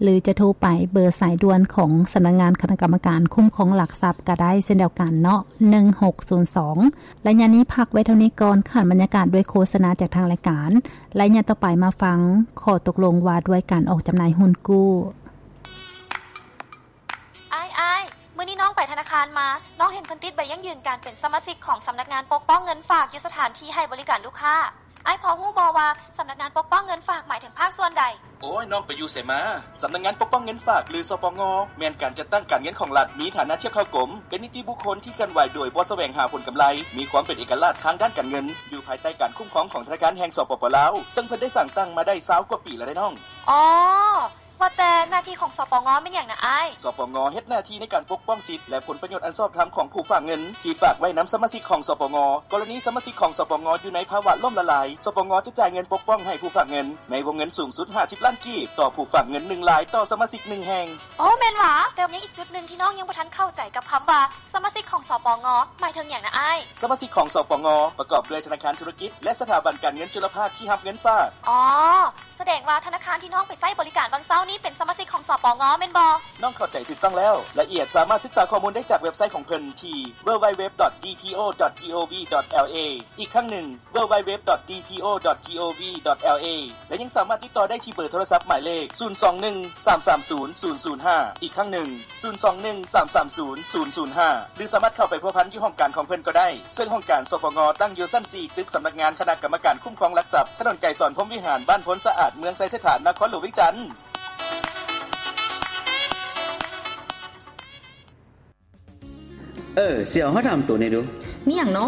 ຫຼືຈະໂທໄປເບີສາຍດ່ວນຂອງສຳນັກງານຄະນະກຳມະການຄຸ້ມຄອງຫຼັກຊັບກໍໄດ້ເຊັ່ນດຽວກັນເນາະ ໜຶ່ງຫົກສູນສອງ. ໄລຍະນີ້ພັກໄວ້ເທົ່ານີ້ກ່ອນ, ຂານບັນຍາກາດດ້ວຍໂຄສະນາຈາກທາງລາຍການ. ໄລຍະຕໍ່ໄປມາຟັງຂໍ້ຕົກລົງວ່າດ້ວຍການອອກຈຳໜ່າຍຮຸ້ນກູ້. ອ້າຍ, ອ້າຍ, ມື້ນີ້ນ້ອງໄປທະນາຄານມາ, ນ້ອງເຫັນເພິ່ນຕິດໃບຢັ້ງຢືນການເປັນສະມາຊິກຂອງສຳນັກງານປົກປ້ອງເງິນຝາກຢູ່ສະຖານທີ່ໃຫ້ບໍລິການລູກຄ້າ. ອ້າຍພໍຮູ້ບໍ່ວ່າສຳນັກງານປົກປ້ອງເງິນຝາກໝາຍເຖິງພາກສ່ວນໃດ? ໂອ້ຍ, ນ້ອງໄປຢູ່ໃສມາ? ສຳນັກງານປົກປ້ອງເງິນຝາກ ຫຼື ສປງ ແມ່ນການຈັດຕັ້ງການເງິນຂອງລັດ, ມີຖານະທຽບເທົ່າກົມ, ເປັນນິຕິບຸກຄົນທີ່ເຄື່ອນໄຫວໂດຍບໍ່ສະແຫວງຫາຜົນກຳໄລ, ມີຄວາມເປັນເອກະລາດທາງດ້ານການເງິນ, ຢູ່ພາຍໃຕ້ການຄຸ້ມຄອງຂອງທະນາຄານແຫ່ງ ສປປ ລາວ, ເຊິ່ງເພິ່ນໄດ້ສ້າງຕັ້ງມາໄດ້ຊາວກວ່າປີແລ້ວເດ້ນ້ອງ. ອໍ ວ່າແຕ່ໜ້າທີ່ຂອງ ສປງ ແມ່ນຫຍັງນະອ້າຍ? ສປງ ເຮັດໜ້າທີ່ໃນການປົກປ້ອງສິດ ແລະ ຜົນປະໂຫຍດອັນຊອບທຳຂອງຜູ້ຝາກເງິນທີ່ຝາກໄວ້ນຳສະມາຊິກຂອງ ສປງ. ກໍລະນີສະມາຊິກຂອງ ສປງ ຢູ່ໃນພາວະລົ້ມລະລາຍ, ສປງ ຈະຈ່າຍເງິນປົກປ້ອງໃຫ້ຜູ້ຝາກເງິນໃນວົງເງິນສູງສຸດຫ້າສິບລ້ານກີບ ຕໍ່ຜູ້ຝາກເງິນໜຶ່ງລາຍຕໍ່ສະມາຊິກໜຶ່ງແຫ່ງ. ໂອ້ ແມ່ນຫວາ? ແຕ່ຍັງອີກຈຸດໜຶ່ງທີ່ນ້ອງຍັງບໍ່ທັນເຂົ້າໃຈກັບຄຳວ່າ ສະມາຊິກຂອງ ສປງ ໝາຍເຖິງຫຍັງນະອ້າຍ? ສະມາຊິກຂອງ ສປງ ປະກອບດ້ວຍທະນາຄານທຸລະກິດ ແລະ ສະຖາບັນການເງິນຈຸລະພາກທີ່ຮັບເງິນຝາກ. ອໍ ສະແດງວ່າທະນາຄານທີ່ນ້ອງໄປໃຊ້ບໍລິການຫວ່າງເຊົ້ານີ້ເປັນສະມາຊິກຂອງ ສປງ ແມ່ນບໍ່? ນ້ອງເຂົ້າໃຈຖືກຕ້ອງແລ້ວ. ລາຍລະອຽດສາມາດສຶກສາຂໍ້ມູນໄດ້ຈາກເວັບໄຊຂອງເພິ່ນທີ່ www.dpo.gov.la ອີກຄັ້ງໜຶ່ງ www.dpo.gov.la ແລະ ຍັງສາມາດຕິດຕໍ່ໄດ້ທີ່ເບີໂທລະສັບໝາຍເລກ ສູນສອງໜຶ່ງ ສາມສາມສູນ ສູນສູນຫ້າ ອີກຄັ້ງໜຶ່ງ ສູນສອງໜຶ່ງ ສາມສາມສູນ ສູນສູນຫ້າ ຫຼື ສາມາດເຂົ້າໄປພົວພັນຢູ່ຫ້ອງການຂອງເພິ່ນກໍໄດ້ ເຊິ່ງຫ້ອງການ ສປງ ຕັ້ງຢູ່ຊັ້ນສີ່ ຕຶກສຳນັກງານຄະນະກຳມະການຄຸ້ມຄອງຫຼັກຊັບ ຖະໜົນໄກສອນ ພົມວິຫານ ບ້ານໂພນສະອາດ ເມືອງໄຊເສດຖາ ນະຄອນຫຼວງວຽງຈັນ. ເອີ ຊິເອົາ ເຮົາຖາມໂຕແດ່ດູ. ມີຫຍັງນໍ?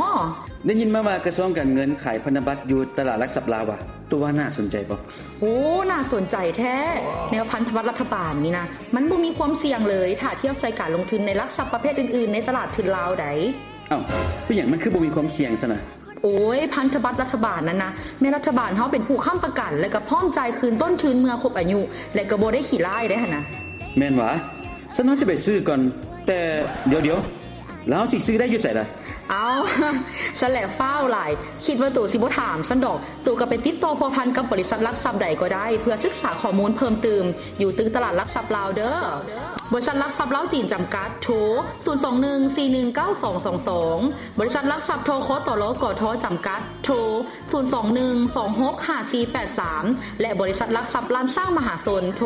ໄດ້ຍິນມາວ່າກະຊວງການເງິນຂາຍພັນທະບັດຢູ່ຕະຫຼາດຫຼັກຊັບລາວວ່າ ໂຕວ່າໜ້າສົນໃຈບໍ່? ໂອ້ ໜ້າສົນໃຈແທ້. ແນວພັນທະບັດລັດຖະບານນີ້ນະ ມັນບໍ່ມີຄວາມສ່ຽງເລີຍ ຖ້າທຽບໃສ່ການລົງທຶນໃນຫຼັກຊັບປະເພດອື່ນໆ ໃນຕະຫຼາດທຶນລາວໃດ໋. ເອົ້າ ເປັນຫຍັງມັນຄືບໍ່ມີຄວາມສ່ຽງຊັ້ນນະ? ໂອ້ຍ ພັນທະບັດລັດຖະບານນັ້ນນະ ແມ່ນລັດຖະບານເຮົາເປັນຜູ້ຄ້ຳປະກັນ ແລະ ກໍພ້ອມຈ່າຍຄືນຕົ້ນທຶນເມື່ອຄົບອາຍຸ ແລະ ກໍບໍ່ໄດ້ຂີ້ລ້າຍເດ້ຫັ້ນນະ. ແມ່ນຫວາ? ຊັ້ນເຮົາຊິໄປຊື້ກ່ອນ. ແຕ່ດຽວໆ ແລ້ວເຮົາຊິຊື້ໄດ້ຢູ່ໃສລະ? ເອົ້າ ຊັ້ນແຫຼະຟ້າວຫຼາຍ ຄິດວ່າໂຕຊິບໍ່ຖາມຊັ້ນດອກ. ໂຕກໍໄປຕິດຕໍ່ພົວພັນກັບບໍລິສັດຫຼັກຊັບໃດກໍໄດ້ ເພື່ອສຶກສາຂໍ້ມູນເພີ່ມຕື່ມ ຢູ່ຕຶກຕະຫຼາດຫຼັກຊັບລາວເດີ້. ບໍລິສັດຫຼັກຊັບລາວຈີນຈຳກັດ ໂທ ສູນສອງໜຶ່ງ ສີ່ໜຶ່ງເກົ້າສອງສອງສອງ. ບໍລິສັດຫຼັກຊັບ ທຄຕລ ກທ ຈຳກັດ ໂທ ສູນສອງໜຶ່ງ ສອງຫົກຫ້າສີ່ແປດສາມ ແລະ ບໍລິສັດຫຼັກຊັບລ້ານຊ້າງມະຫາຊົນ ໂທ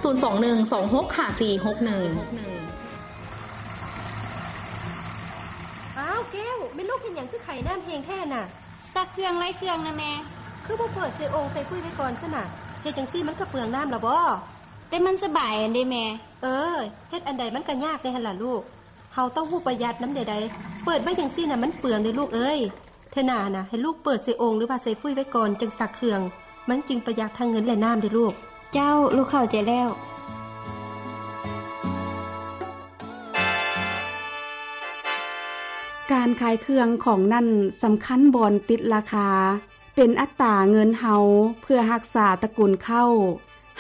ສູນສອງໜຶ່ງ ສອງຫົກຫ້າສີ່ຫົກໜຶ່ງ. ອ້າວ ແກ້ວ ແມ່ລູກເຮັດຫຍັງຄືໄຂນ້ຳແຮງແທ້ນະ? ຊັກເຄື່ອງໄລ່ເຄື່ອງນະແມ່. ຄືບໍ່ເປີດໃສ່ໂອ່ງໃສ່ຟຸ້ຍໄວ້ກ່ອນຊັ້ນນະ? ເຮັດຈັ່ງຊີ້ມັນກໍເປືອງນ້ຳລະບໍ? ແຕ່ມັນສະບາຍຫັ້ນເດແມ່. ເອີ ເຮັດອັນໃດມັນກໍຍາກແດ່ຫັ້ນລະລູກ. ເຮົາຕ້ອງຮູ້ປະຢັດນຳແດ່ໃດ໋. ເປີດໄວ້ຈັ່ງຊີ້ນະມັນເປືອງເດ້ລູກເອີຍ. ເທື່ອໜ້ານະ ໃຫ້ລູກເປີດໃສ່ໂອ່ງ ຫຼືວ່າໃສ່ຟຸ້ຍໄວ້ກ່ອນ ຈັ່ງຊັກເຄື່ອງ. ມັນຈຶ່ງປະຢັດທັງເງິນ ແລະ ນ້ຳເດ້ລູກ. ເຈົ້າ, ລູກເຂົ້າໃຈແລ້ວ. ການຂາຍເຄື່ອງຂອງນັ້ນສຳຄັນບ່ອນຕິດລາຄາ, ເປັນອັດຕາເງິນເຮົາເພື່ອຮັກສາຕະກຸນເຂົ້າ,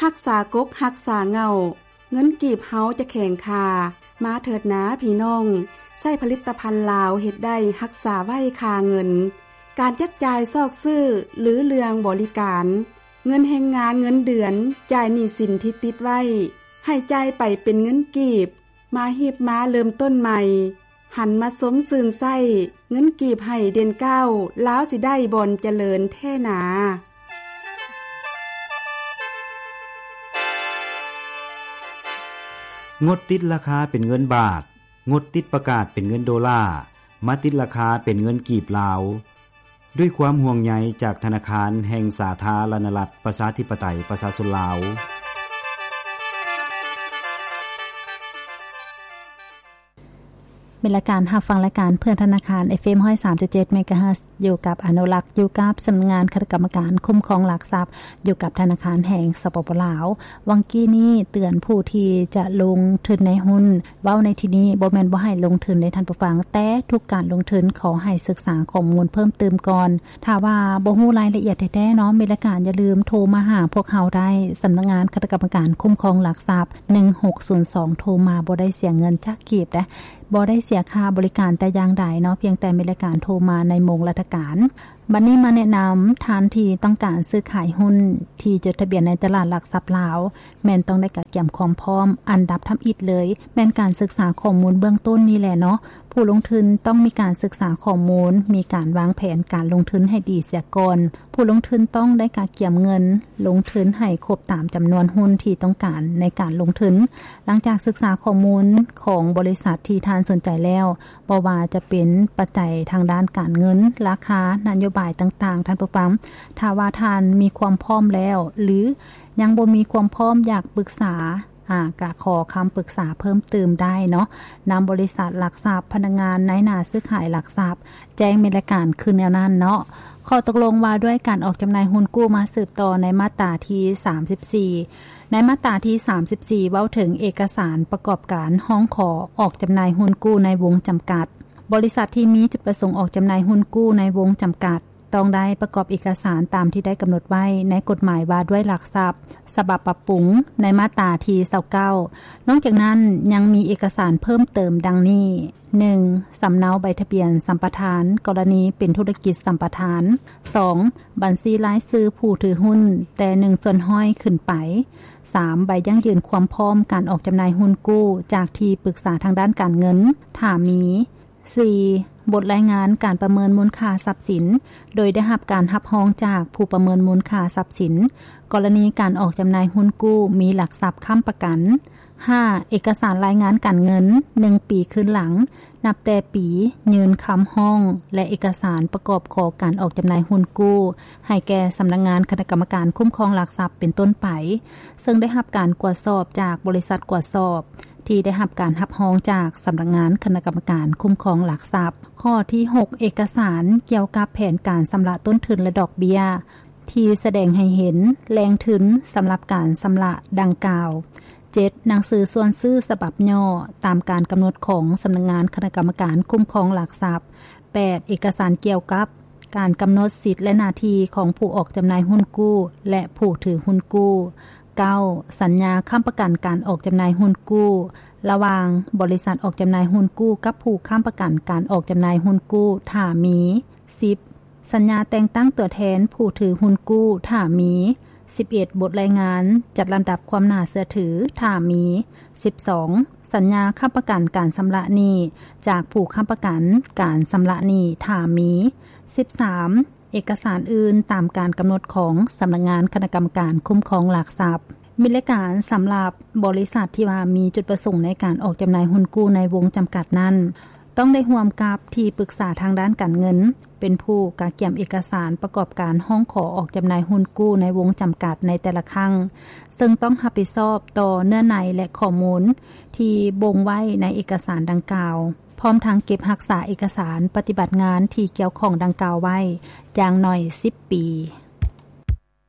ຮັກສາກົກ, ຮັກສາເຫງົ້າ, ເງິນກີບເຮົາຈະແຂງຄ່າ. ມາເຖີດນາພີ່ນ້ອງ, ໃຊ້ຜະລິດຕະພັນລາວເຮັດໄດ້ຮັກສາໄວ້ຄ່າເງິນ. ການຈັບຈ່າຍຊອກຊື້ ຫຼື ເລື່ອງບໍລິການ, ເງິນແຮງງານເງິນເດືອນ, ຈ່າຍໜີ້ສິນທີ່ຕິດໄວ້, ໃຫ້ຈ່າຍໄປເປັນເງິນກີບ, ມາຮີບມາເລີ່ມຕົ້ນໃໝ່, ຫັນມາຊົມຊື່ນໃຊ້, ເງິນກີບໃຫ້ເດັ່ນກ້າວ, ລາວຊິໄດ້ບ່ອນຈະເລີນແທ້ໜາ. ງົດຕິດລາຄາເປັນເງິນບາດ, ງົດຕິດປະກາດເປັນເງິນໂດລາ, ມາຕິດລາຄາເປັນເງິນກີບລາວ. ດ້ວຍຄວາມຫ່ວງໃຍຈາກທະນາຄານແຫ່ງສາທາລະນະລັດ ປະຊາທິປະໄຕ ປະຊາຊົນລາວ. ແມ່ນລະ ການຮັບຟັງລາຍການເພື່ອນທະນາຄານ ເອັຟເອັມ ຮ້ອຍສາມຈຸດເຈັດ ເມກາເຮີດ ຢູ່ກັບອະນຸລັກ ຢູ່ກັບສຳນັກງານຄະນະກຳມະການຄຸ້ມຄອງຫຼັກຊັບ ຢູ່ກັບທະນາຄານແຫ່ງ ສປປ ລາວ. ຫວ່າງກີ້ນີ້ເຕືອນຜູ້ທີ່ຈະລົງທຶນໃນຫຸ້ນ, ເວົ້າໃນທີ່ນີ້ບໍ່ແມ່ນບໍ່ໃຫ້ລົງທຶນເດ້ທ່ານຜູ້ຟັງ, ແຕ່ທຸກການລົງທຶນຂໍໃຫ້ສຶກສາຂໍ້ມູນເພີ່ມຕື່ມກ່ອນ. ຖ້າວ່າບໍ່ຮູ້ລາຍລະອຽດແທ້ໆເນາະ ແມ່ນລະ ການຢ່າລືມໂທມາຫາພວກເຮົາໄດ້, ສຳນັກງານຄະນະກຳມະການຄຸ້ມຄອງຫຼັກຊັບ ໜຶ່ງຫົກສູນສອງ ໂທມາບໍ່ໄດ້ເສຍເງິນຈັກກີບເດ້. ບໍ່ໄດ້ເສຍຄ່າບໍລິການແຕ່ຢ່າງໃດເນາະ, ພຽງແຕ່ແມ່ນລະ ການໂທມາໃນໂມງລັດຖະການ. ບັດນີ້ມາແນະນຳ ທ່ານທີ່ຕ້ອງການຊື້ຂາຍຫຸ້ນທີ່ຈົດທະບຽນໃນຕະຫຼາດຫຼັກຊັບລາວ ແມ່ນຕ້ອງໄດ້ກະກຽມຄວາມພ້ອມ. ອັນດັບທຳອິດເລີຍ ແມ່ນການສຶກສາຂໍ້ມູນເບື້ອງຕົ້ນນີ້ແຫຼະເນາະ. ຜູ້ລົງທຶນຕ້ອງມີການສຶກສາຂໍ້ມູນ, ມີການວາງແຜນການລົງທຶນໃຫ້ດີເສຍກ່ອນ. ຜູ້ລົງທຶນຕ້ອງໄດ້ກະກຽມເງິນລົງທຶນໃຫ້ຄົບຕາມຈຳນວນຫຸ້ນທີ່ຕ້ອງການໃນການລົງທຶນ. ຫຼັງຈາກສຶກສາຂໍ້ມູນຂອງບໍລິສັດທີ່ທ່ານສົນໃຈແລ້ວ, ບໍ່ວ່າຈະເປັນປັດໄຈທາງດ້ານການເງິນ, ລາຄາ, ນະໂຍບາຍຕ່າງໆ, ທ່ານຜູ້ຟັງ, ຖ້າວ່າທ່ານມີຄວາມພ້ອມແລ້ວ ຫຼື ຍັງບໍ່ມີຄວາມພ້ອມ ຢາກປຶກສາ ອາ ກະຂໍຄຳປຶກສາເພີ່ມຕື່ມໄດ້ເນາະ ນຳບໍລິສັດຫຼັກຊັບ, ພະນັກງານ, ນາຍໜ້າຊື້ຂາຍຫຼັກຊັບ, ແຈ້ງແມ່ນລາຍການຄືແນວນັ້ນເນາະ. ຂໍ້ຕົກລົງວ່າດ້ວຍການອອກຈຳໜ່າຍຫຸ້ນກູ້ ມາສືບຕໍ່ໃນມາດຕາທີສາມສິບສີ່. ໃນມາດຕາທີສາມສິບສີ່ ເວົ້າເຖິງເອກະສານປະກອບການຮ້ອງຂໍອອກຈຳໜ່າຍຫຸ້ນກູ້ໃນວົງຈຳກັດ. ບໍລິສັດທີ່ມີຈຸດປະສົງອອກຈຳໜ່າຍຫຸ້ນກູ້ໃນວົງຈຳກັດ ຕ້ອງໄດ້ປະກອບເອກະສານຕາມທີ່ໄດ້ກຳນົດໄວ້ໃນກົດໝາຍວ່າດ້ວຍຫຼັກຊັບ ສະບັບປັບປຸງ ໃນມາດຕາທີຊາວເກົ້າ. ນອກຈາກນັ້ນ ຍັງມີເອກະສານເພີ່ມເຕີມດັ່ງນີ້: ໜຶ່ງ ສຳເນົາໃບທະບຽນສຳປະທານ ກໍລະນີເປັນທຸລະກິດສຳປະທານ. ສອງ ບັນຊີລາຍຊື່ຜູ້ຖືຫຸ້ນແຕ່ໜຶ່ງສ່ວນຮ້ອຍຂຶ້ນໄປ. ສາມ ໃບຢັ້ງຢືນຄວາມພ້ອມການອອກຈຳໜ່າຍຫຸ້ນກູ້ຈາກທີ່ປຶກສາທາງດ້ານການເງິນ ຖ້າມີ. ສີ່ ບົດລາຍງານການປະເມີນມູນຄ່າຊັບສິນ ໂດຍໄດ້ຮັບການຮັບຮອງຈາກຜູ້ປະເມີນມູນຄ່າຊັບສິນ ກໍລະນີການອອກຈຳໜ່າຍຫຸ້ນກູ້ມີຫຼັກຊັບຄ້ຳປະກັນ. ຫ້າ ເອກະສານລາຍງານການເງິນໜຶ່ງປີຄືນຫຼັງ ນັບແຕ່ປີຍື່ນຄຳຮ້ອງ ແລະ ເອກະສານປະກອບຂໍການອອກຈຳໜ່າຍຫຸ້ນກູ້ ໃຫ້ແກ່ສຳນັກງານຄະນະກຳມະການຄຸ້ມຄອງຫຼັກຊັບເປັນຕົ້ນໄປ, ເຊິ່ງໄດ້ຮັບການກວດສອບຈາກບໍລິສັດກວດສອບ ທີ່ໄດ້ຮັບການຮັບຮອງຈາກສຳນັກງານຄະນະກຳມະການຄຸ້ມຄອງຫຼັກຊັບ. ຂໍ້ທີຫົກ ເອກະສານກ່ຽວກັບແຜນການຊຳລະຕົ້ນທຶນ ແລະ ດອກເບ້ຍ ທີ່ສະແດງໃຫ້ເຫັນແຫຼ່ງທຶນສຳລັບການຊຳລະດັ່ງກ່າວ. ເຈັດ ໜັງສືຊວນຊື້ສະບັບຫຍໍ້ຕາມການກຳນົດຂອງສຳນັກງານຄະນະກຳມະການຄຸ້ມຄອງຫຼັກຊັບ. ແປດ ເອກະສານກ່ຽວກັບການກຳນົດສິດ ແລະ ໜ້າທີ່ຂອງຜູ້ອອກຈຳໜ່າຍຫຸ້ນກູ້ ແລະ ຜູ້ຖືຫຸ້ນກູ້. ເກົ້າ ສັນຍາຄ້ຳປະກັນການອອກຈຳໜ່າຍຫຸ້ນກູ້ ລະຫວ່າງບໍລິສັດອອກຈຳໜ່າຍຫຸ້ນກູ້ກັບຜູ້ຄ້ຳປະກັນການອອກຈຳໜ່າຍຫຸ້ນກູ້ ຖ້າມີ. ສິບ ສັນຍາແຕ່ງຕັ້ງຕົວແທນຜູ້ຖືຫຸ້ນກູ້ ຖ້າມີ. ສິບເອັດ ບົດລາຍງານຈັດລຳດັບຄວາມໜ້າເຊື່ອຖື ຖ້າມີ. ສິບສອງ ສັນຍາຄ້ຳປະກັນການຊຳລະໜີ້ຈາກຜູ້ຄ້ຳປະກັນການຊຳລະໜີ້ ຖ້າມີ. ສິບສາມ ເອກະສານອື່ນຕາມການກຳນົດຂອງສຳນັກງານຄະນະກຳມະການຄຸ້ມຄອງຫຼັກຊັບ. ມິດລາຍການສຳລັບບໍລິສັດທີ່ວ່າມີຈຸດປະສົງໃນການອອກຈຳໜ່າຍຫຸ້ນກູ້ໃນວົງຈຳກັດນັ້ນ ຕ້ອງໄດ້ຮ່ວມກັບທີ່ປຶກສາທາງດ້ານການເງິນ ເປັນຜູ້ກະກຽມເອກະສານປະກອບການຮ້ອງຂໍອອກຈຳໜ່າຍຫຸ້ນກູ້ໃນວົງຈຳກັດໃນແຕ່ລະຄັ້ງ, ເຊິ່ງຕ້ອງຮັບຜິດຊອບຕໍ່ເນື້ອໃນ ແລະ ຂໍ້ມູນທີ່ບົ່ງໄວ້ໃນເອກະສານດັ່ງກ່າວ, ພ້ອມທັງເກັບຮັກສາເອກະສານປະຕິບັດງານທີ່ກ່ຽວຂ້ອງດັ່ງກ່າວໄວ້ຢ່າງໜ້ອຍສິບປີ.